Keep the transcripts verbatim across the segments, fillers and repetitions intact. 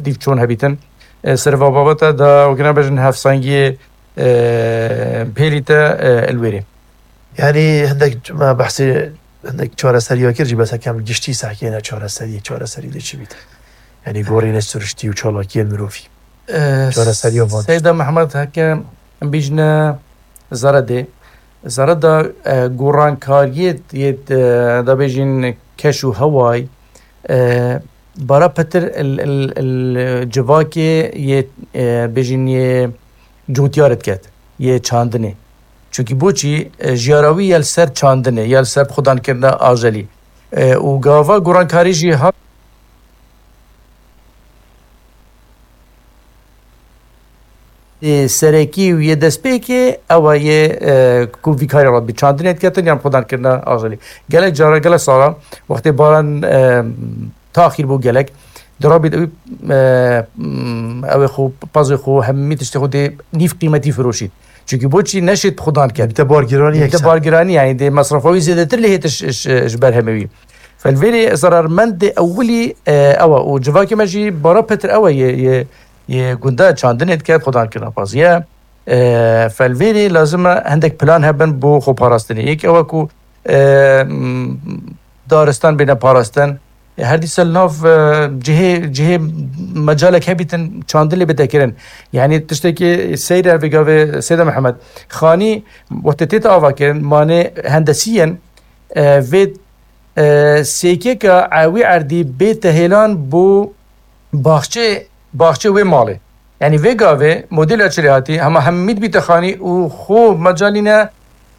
dîv çon hebîtin. E, ser va babete da wekî nabêjin hevsangiyê, e, pêlî te, e, li wêrê. Yanî hindek me behsê hindek çareseriya kir jî, bes hekem giştî sehkêne çareseriyê, çareserî dê çi bît? Yanî gorînê siriştî û çalakiyên mirovî. E, Çareseriya van. Seyda Mehmed heke em bîjine zere dê. Zere da, e, gorankariyê yê, e, da bêjin keş û heway, e, bara pitir il, il, il civakê yê, e, bêjin yê cotyar diket, yê çandinê. Çunkî boçî, e, jiyara wî ya li ser çandinê, ya li ser xudankirina ajelî. E, û gava gorankarî jî ha-, e, serekî û yê destpêkê ew e yê, e, ku vî karê rabî çandinê diketin yan xudankirina ajelî. Gelek cara, gelek sala wextê baran, e, taxîr bû gelek. Di rabî de wî, e, m, ew ê xwe, pazê xwe, hemî tiştê xwe dê nîv qîmetî firoşît. Çunkî boçî neşêt xudan ket. Te bargiranî Te yekser. Bargiranî, yanî dê mesrefa wî zêdetir lê hêt ji, ji, ji ber hemê wî. Felvêrê zerarmendê ewilî, e, ew e. Û civakê me jî bara petir ew e yê, yê, yê gunda çandinê dike, xudan kirina paziye. E, felvêrê lazim e hindek plan hebin bo xwe parastinê. Yek ew e ku, e, m, daristan bêne parastin. E, her dîsa li nav, e, cihê, cihê mecalek hebîtin çandin lê bête kirin. Yanî tiştekî seyr e vê gavê Seyda Mihemed. Xanî wextê tête avakirin, manê hendesî yên, e, vê, e, sêkêka ewî erdî bête hêlan bo baxçê, baxçê wê malê. Yanî vê gavê modela çi lê hatî, hema hemî dibîte xanî û xwe mecalî ne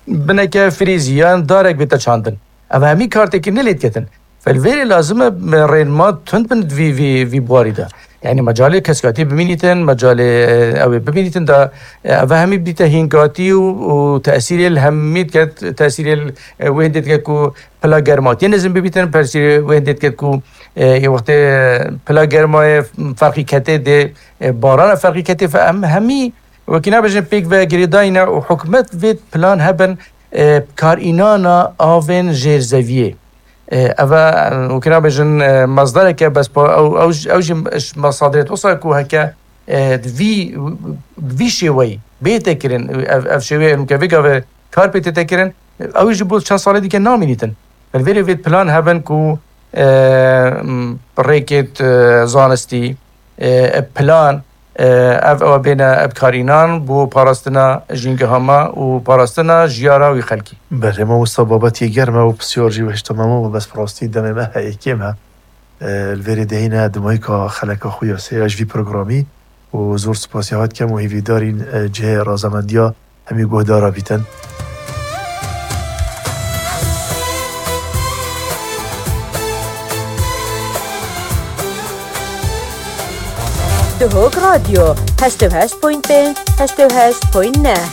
bineke frîzî yan darek bête çandin. Ev hemî kartekî ne lê diketin. Felvêrê lazim e me rênma tund bin vî, vî, vî buarî de. Yanî mecalê kesikatî bimînîtin, mecalê, e, ew ê bimînîtin da, e, ev hemî bidîte hînkatî û, û tesîrê li hemî diket, tesîrê li, e, wê hindê diket ku pila germa tê nizim bibîtin, tesîrê wê hindê diket ku, e, ê wextê pila germayê ferqî ketê dê, e, barana ferqî ketê fe em hemî wekî nabêjin pêk ve girêdayî ne û hikûmet vê plan hebin, e, karînana avên jêrzeviyê. E, ev e, wekî nabêjin, e, mazdareke bes pa-, ew, ew, ew jî ji masadirê wisa ku heke, e, di vî, vî şêweyî bête kirin, ev, ev şêweyê ke vê gavê kar pê tête kirin, ew jî bo çend salê dike namînîtin. Li vêrê vê plan hebin ku, e, m, rêkêt, e, zanistî, e, plan, e, ev, ew bêne bi kar înan bo parastina jîngeha me û parastina jiyara wî xelkî. Belê, mamosta, babetî germ e û pisyar jî hişta me, bes bi rastî demê me heye kêm e. E, li vêrê dihîne dimayîka xeleka xwe ya sê ya ji vî programî û zor spasiya we dikem û hêvîdarîn, e, cihê razemendiya hemî guhdara bîtin. Duhok Radyo, heşt û heşt point pênc, heşt û heşt point neh.